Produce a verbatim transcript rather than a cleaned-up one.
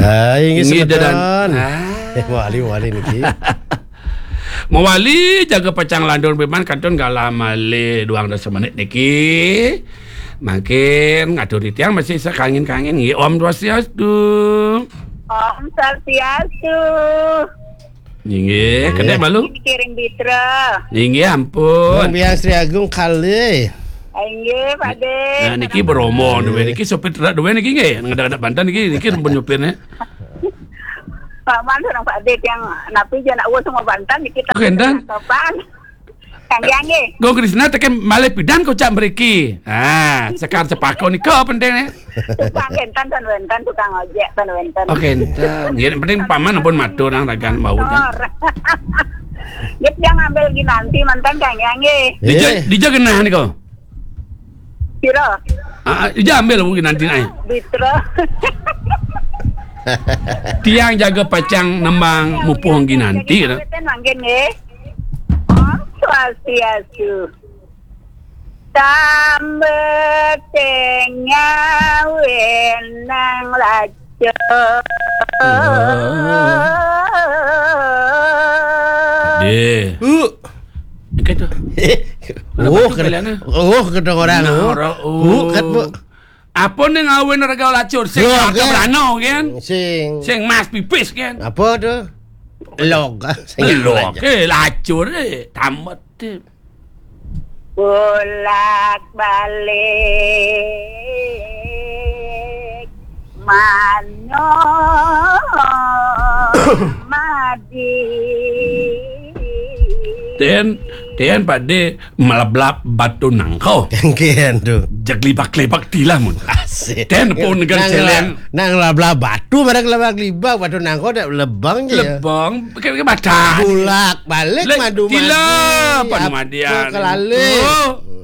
Ah, inggih, inggih, semeton. Ah. Eh, mawali, mawali niki. Mawali jaga pacang lantur piman kantun galah malih duang dasa menit niki. Mangkin ngatur titiang masih sakangin-kangin nggih. Om Swastiastu. Om Swastiastu. Inggih, kedék malu. Kiring Bitra. Inggih, ampun. Bung Biang Sri Agung kalih. Inggih, Pak Dé. Nah, niki Bromo duwe niki, sopir truk duwe niki nggih. Ngedak-ngedak banten niki, niki sampun nyopirnya. Paman sareng Pak Dé yang napi jana uwes sama banten niki. Oke, enten. Sopan. Kang Yang nggih. Gung Krisna tekén malih pidan kocak mriki. Ah, Sekar Cepaka nika penting nih. Tukang enten tan wenten, tukang ojek tan wenten. Oke, enten. Nggih, penting paman ampun matur nang ragan mawon kan. Matur. Nggih, yang ngambil Ginanti manten Kang Yang nggih. Dija, eh, dija genah nika. Pira? Ah, ah, dija ambil mungkin nanti naik. Bitra. Tiang jaga pacang nembang mupuh Ginanti, nah. Mangkin nggih. Om Swastiastu. Tambeteng nyawin nang lacur. Deh. Uh. Ikat tu. Oh, batu ket-, kalian, eh? Oh, kedengeran. Nah, oh. Ora, oh. Uh, ket, Bu. Apa ning ngawin rega lacur? Sing loh, ora kan? Berano, kan? Sing. Sing mas pipis, kan? Apa tu? Log. Sing log, aja. Eh, lacur, eh. Tamat, eh. Bolak-balik manuk madi. Ten, ten Pak Dé meleblap batu nangko. Kengken tu. Jeglibak-libak tilah mun. Asik. Ten pun nang, nang celeng. Nang leblap batu, pada leblap-libak batu nangko dak lebang je. Lebang, pakai, pakai mata. Bolak-balik madu-madi. Tilah, apa, panu madian. Kelalih. Oh.